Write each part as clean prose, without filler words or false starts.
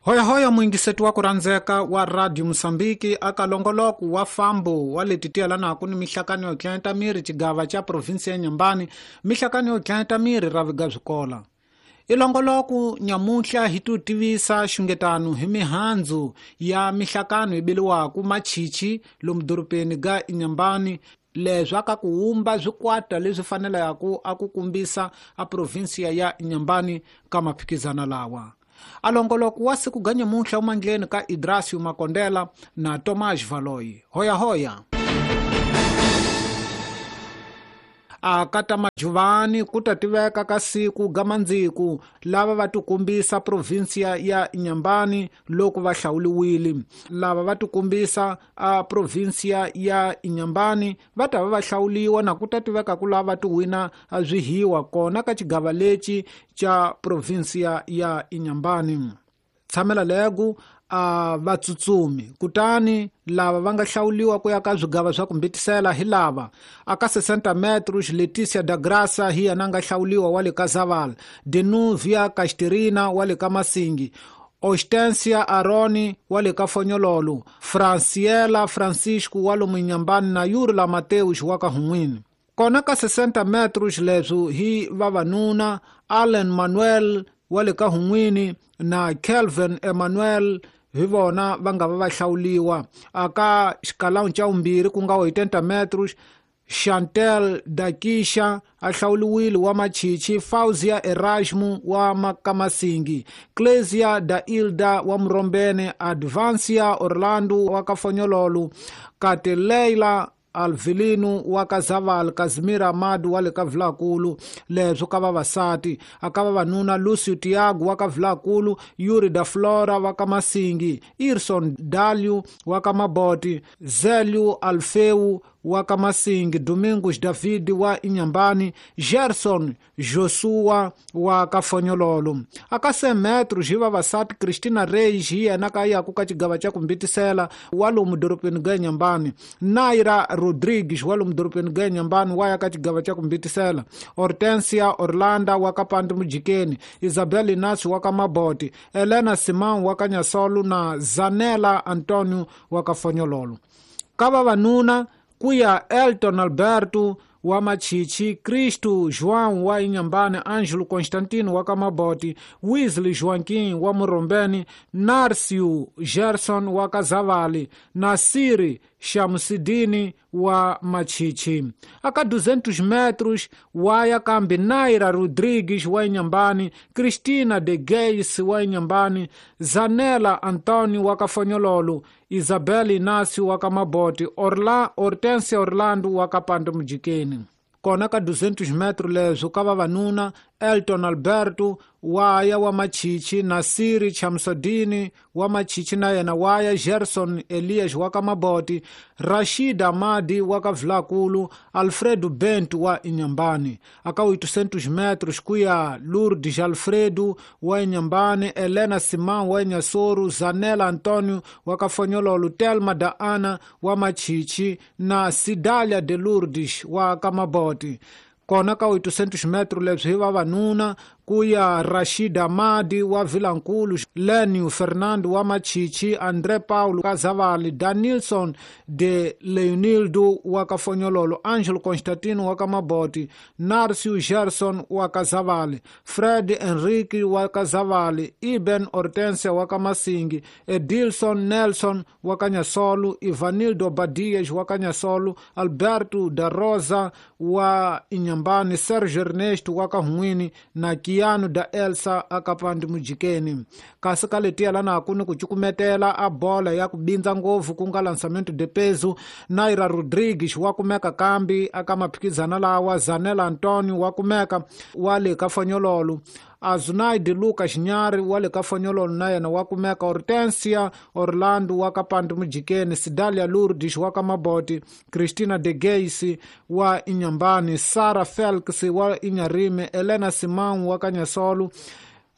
Hoyahoya muyingiseti wa ku rhandzeka wa Radio Mosambiki aka longoloko wa fambo wa leti tiyelanaku ni mihlakano yo dlayeta miri xigava xa provinsi ya Nyambani, mihlakano yo dlayeta miri ra viga swikola. I longoloko nyamuntlha hi tu tivisa xungetano hi mihandzu ya mihlakano yi beliwaku machichi lomu dorobeni ga Inhambane, leswi aka ku wumba swikwata leswi fanelaka a ku kumbisa a provinsiya ya Inhambane ka maphikizana lawa. A longoloko wa siku ga nyamuntlha wu mandleni ka Idrasio Makondela na Tomás Valoyi. Hoyahoya. A ka ta majuvani ku ta tiveka ka siku ga mandziku lava va tikumbisa provinsiya ya Inhambane loko va hlawuliwile. Lava va tikumbisa a provinsiya ya Inhambane va ta va va hlawuliwa na ku ta tiveka ku lava ti wina swihiwa kona ka xigava lexi xa provinsiya ya Inhambane. Tshamela legu a vatsutsumi kutani lava va nga hlawuliwa ku ya ka swigava swa ku mbitisela hi lava aka 60 metros Leticia da Graça hi yena nga hlawuliwa wa le ka Zaval, Denuvia Casterina wa le ka Masingi, Ostensia Aroni wa le ka Fonyololo, Franciela Francisco wa lomu Inhambane na Yurla Mateus wa ka Hun'wini. Kona ka 60 metros leswi hi vavanuna Allen Manuel wa le ka Hun'wini na Kelvin Emmanuel hi vona va nga va va hlawuliwa. Aka xikalawu xa vumbirhi ku nga 80 metros Chantel Dakisha a hlawuliwile wa Machichi, Fauzia Erasmu wa Makamasingi, Clesia da Ilda wa Murombene, Advancia Orlando wa Kafonyololo, Kate Leila Alvilino wa ka Zaval, Casimir Amadu wa le ka Vilakulu. Leswi ka vavasati aka vavanuna Lucio Tiago wa ka Vilakulu, Yuri da Flora wa ka Masingi, Irson Dalio wa ka Maboti, Zelio Alfeu wa ka Masingi, Domingos David wa Inhambane, Gerson Joshua wa ka Fonyololo. Aka 100 metros hi vavasati Cristina Reis hi yena ka yaku ka xigava xa ku mbitisela wa lomu dorobeni ga Inhambane, Naira Rodrigues wa lomu dorobeni ga Inhambane wa ya ka xigava xa ku mbitisela, Hortensia Orlando wa ka Pandi Mujikeni, Isabel Inácio wa ka Maboti, Elena Simão wa ka Nyasolo na Zanela Antonio wa ka Fonyololo. Ka vavanuna ku ya Elton Alberto wa Machichi, Cristo João wa Inhambane, Ângelo Constantino wa Kamaboti, Wesley Joaquim wa Murombeni, Narcio Gerson wa Kazavali, Nasiri Shamsidini wa Machichi. Aka 200 metros wa ya kambi Naira Rodrigues wa Inhambane, Cristina de Geis wa Inhambane, Zanela Antonio wa Kafonyololo, Isabel Inácio wa Kamaboti, Hortensia Orlando wa Kapando Mujikeni. Kona ka 200 metros leswi ka vavanuna Elton Alberto wa ya wa Machichi, Nasiri Chamsodini wa Machichi na yena wa ya, Gerson Elias wa ka Maboti, Rashid Amadi wa ka Vilakulu, Alfredo Bento wa Inhambane. Aka 800 metros ku ya Lourdes Alfredo wa Inhambane, Elena Simão wa Inhassoro, Zanela Antonio wa ka Fonyololo, Telma da Ana wa Machichi na Sidalia de Lourdes wa ka Maboti. Kona ka 800 metros leswi hi vavanuna ku ya Rashid Amadi wa Vilankulu, Lenio Fernando wa Machichi, André Paulo Kazavali, Danilson de Leonildo wa Kafonyololo, Angelo Constantino wa Kamaboti, Narcio Gerson wa Kazavali, Fred Henrique wa Kazavali, Iben Hortensia wa Kamasingi, Edilson Nelson wa Kanyasolu, Ivanildo Badias wa Kanyasolu, Alberto da Rosa wa Inhambane, Sergio Ernesto wa Kahun'wini na Kiano da Elsa akapandi Mujikeni. Kasi ka letiya lana ku ni ku cukumetela a bola ya ku bindza ngopfu ku nga lançamento de peso, Naira Rodrigues wa kumeka kambi aka maphikizana lawa, Zanela Antonio wa kumeka wa le ka Fonyololo, Azunaide Lucas Nyari wa le ka Fonyololo na yena wa kumeka, Hortensia Orlando wa ka Pandi Mujikeni, Sidalia Lourdes wa ka Maboti, Cristina de Geis wa Inhambane, Sara Felix wa Inharime, Elena Simão wa ka Nyasolo,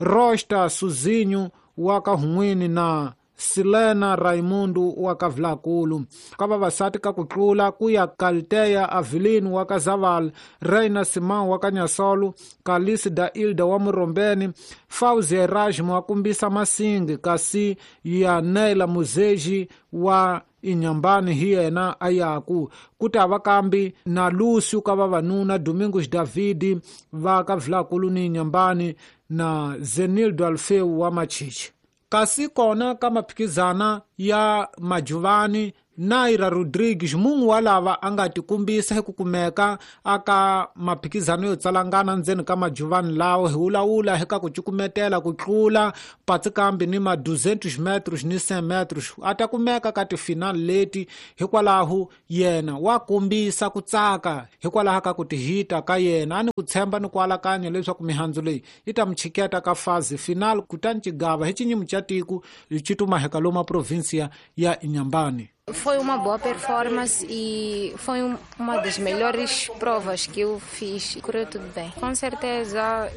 Rosta Suzinho wa ka Hun'wini na Silena Raimundo wa ka Vilakulu. Ka vavasati ka ku tlula ku ya Kalteya Avelino wa ka Zaval, Reina Simão wa ka Nyasolo, Kalisi da Ilda wa Murombeni, Fauzi Erasmo wa kumbisa Masingi, kasi ya Neila Muzeji wa Inhambane hi yena a yaku. Ku ta va kambi na Lúcio ka vavanuna, Domingos Davidi va ka Vilakulu ni Inhambane na Zenildo Alfeu wa Machichi. Kasi kona ka maphikizana ya Majuvani, Naira Rodrigues mun'we wa lava a nga tikumbisa hi ku kumeka aka maphikizano yo tsalangana ndzeni ka Majuvani lawo hi wulawula hi ka ku cukumetela ku tlula patsikambi ni ma 200 metros ni 100 metros a ta kumeka ka tifinal leti. Hikwalaho yena wa kombisa ku tsaka hikwalaho ka ku tihita ka yena a ni ku tshemba ni ku alakanya leswaku mihandzu leyi yi ta mi chiketa ka fazi final kutani xigava hi xinyimu xa tiko xi tumaheka loma província ya Inhambane. Foi uma boa performance e foi uma das melhores provas que eu fiz. Correu tudo bem. Com certeza,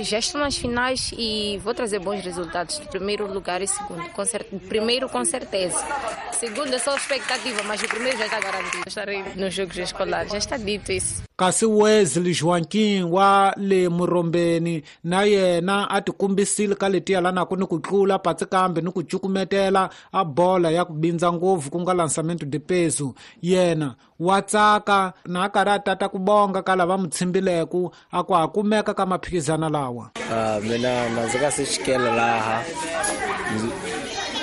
já estou nas finais e vou trazer bons resultados. Primeiro lugar e segundo. Primeiro, com certeza. Segundo é só expectativa, mas o primeiro já está garantido. Estarei nos Jogos Escolares, já está dito isso. Kasi Wesley Joaquim wa le Murombeni na yena a tikumbisile ka letiya lanaku ni ku tlula patsikambe ni ku cukumetela a bola ya ku bindza ngopfu ku nga lançamento de peso. Yena wa tsaka na a karhi a tata ku bonga ka lava mu tshembileku a ku a kumeka ka maphikizana lawa. Mina ndzi nga se xikela laha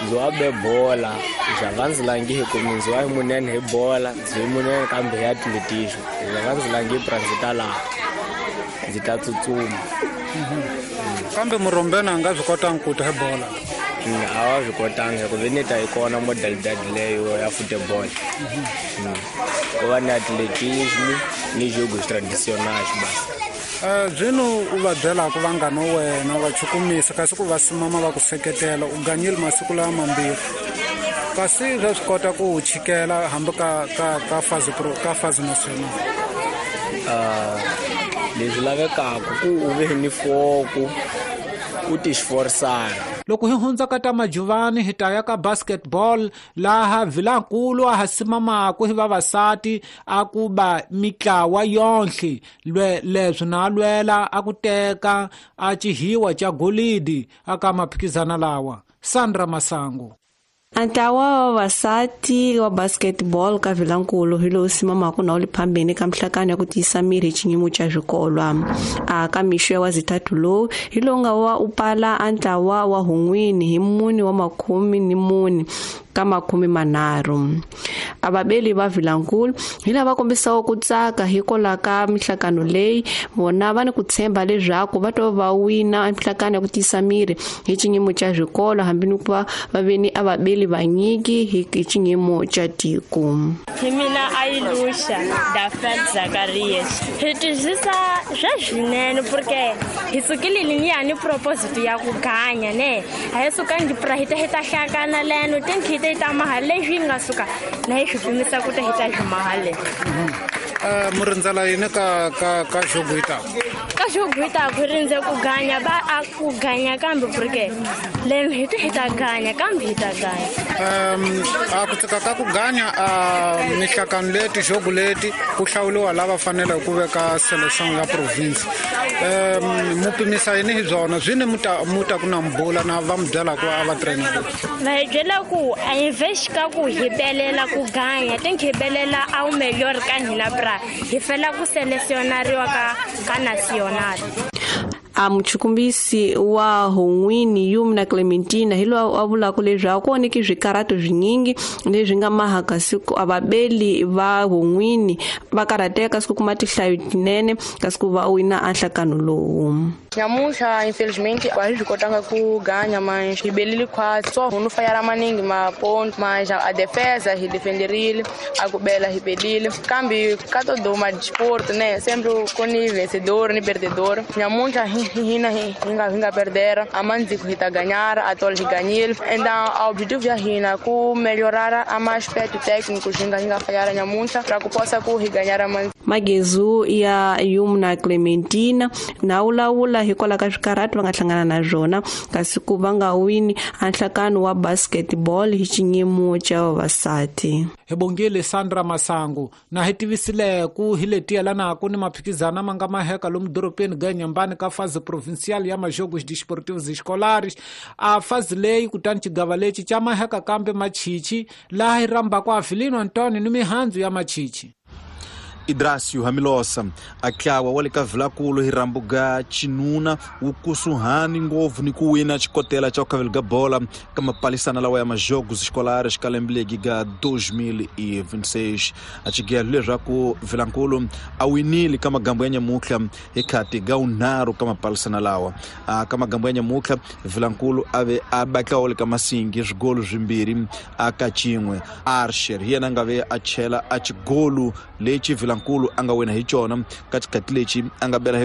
ndzi wa be bola ndzi ndzi langi hi ku ndzi wa munene hi bola ndzi munene kambe ya atletismo ndzi ndzi langi pra ndzi ta laha ndzi ta tsutsuma. Kambe Murombeni a nga swi kotanga ku ta hi bola? A wa swi kotanga hikuva ni ta yi kona modalidade leyo ya football. Ku va ni atletismo ni jogos tradicionais basi. Byino u va byelaka vanghana wena va chukumisa kasi ku va simama va ku seketela u ganyile masiku lawa mambirhi kasi swa swi kota ku u chikela hambi ka fazi pro ka fazi national. Leswi lavekaka ku u ve ni foku u ti xiforisana. Loko hi hundza ka ta Majuvani hi ta ya ka basketball laha Vilankulu a ha simamaku hi vavasati a ku ba mitlawa yonhle leswi na lwela a ku teka a xihiwa xa golidi aka maphikizana lawa. Sandra Masango. Ntlawa wa vavasati wa basketball ka Vilankulu hi lowu simamaka na wu le phambeni ka mihlakano ya ku tiyisa miri hi xiyimo xa swikolwa. A ka mixo ya wazithathu lowu hi lowu nga wa u pala a ntlawa wa hun'wini hi 4 wa 14 ka 30. A vabeli va Vilankulu hi lava kombisaka ku tsaka hikwalaho ka mihlakano leyi vona va ni ku tshemba leswaku va to va wina mihlakano ya ku tiyisa miri hi xiyimo xa swikolo hambi ni ku va va veni a vabeli vanyiki hi xiyimo xa tiko. Hi mina Ailusha da Fred Zacarias. Hi twisisa swa swinene porque hi sukile ni ni proposito ya ku ganya ne. A hi sukangi pra hi ta hi ta hlakana leno tinki hi ta mahale leswi nga suka na hi swi pimisa ku ta hi ta swi mahale. Murindzela yini ka jogo yi ta? Ka jogo yi ta ku rindze ku ganya ba a ku ganya kambe porque leno hi ta hi ta ganya kambe hi ta ganya. A ku tsaka ka ku ganya a mihlakano leti jogo leti ku hlawuliwa lava faneleke ku veka selection ya province. Mu pimisa yini hi byona byi ni mu ta ku na mbula na va mi byela ku a va trainer. Va hi byela ku a invest ka ku hi belela ku ganya tinki hi belela a wu melhor ka hina pra hi fela ku selecionariwa ka nacional. A muchukumbisi wa hun'wini Yumna Clementina hi loyi a vulaka leswaku ku onheke swikarato swinyingi leswi nga maha kasi ku a vabeli va hun'wini va karhateka kasi ku kuma tinhlayo tinene kasi ku va wina a nhlakano lowu. Nyamuhla infelizmente a hi swi kotanga ku ganya mas hi belile khwatsi so no fayara maningi maponto mas a defesa hi defenderile a ku bela hi belile kambe ka todo ma desporto né sempre com ni vencedor ni perdedor. Nyamuhla hina hinga perder a manzi ku hita ganhar a tol hi ganhil então o objetivo já hina ku melhorar a mais aspecto técnico hinga falhar nyamuhla para ku possa ku hi ganhar a manzi. Magezu ya Yumna Clementina na wulawula hikwalaho ka swikarhati va nga hlangana na swona kasi ku va nga wini a nhlakano wa basketball hi xinyimo xa vavasati. Hi bongile Sandra Masangu na hi tivisile ku hi leti yelanaka ni maphikizana ma nga maheka lomu doropeni ga Inhambane ka fase provincial ya majogos desportivos escolares. A fase leyi kutani xigava lexi xa maheka kambe machichi laha hi rhambaka Avelino Antonio ni mihandzu ya machichi. Idracio Hamilosa atlawa wa le ka Vilakulu hi rhambuga Chinuna wu kusuhani ngopfu ni ku wina xikotela xa ku khavela ga bola ka mapalisana lawa ya majogos escolares ka lembe legi ga 2026. A xigelo leswaku Vilankulu a winile ka magambo ya nyamutlha hi khati ga unharhu ka mapalisana lawa. Ka magambo ya nyamutlha Vilankulu a ve a batlawo le ka masingi swigolo swimbirhi a ka xin'we. Archer hi yena a nga ve a chela a xigolo lexi Vilankulu a nga wina hi xona ka xikhathi lexi a nga bela.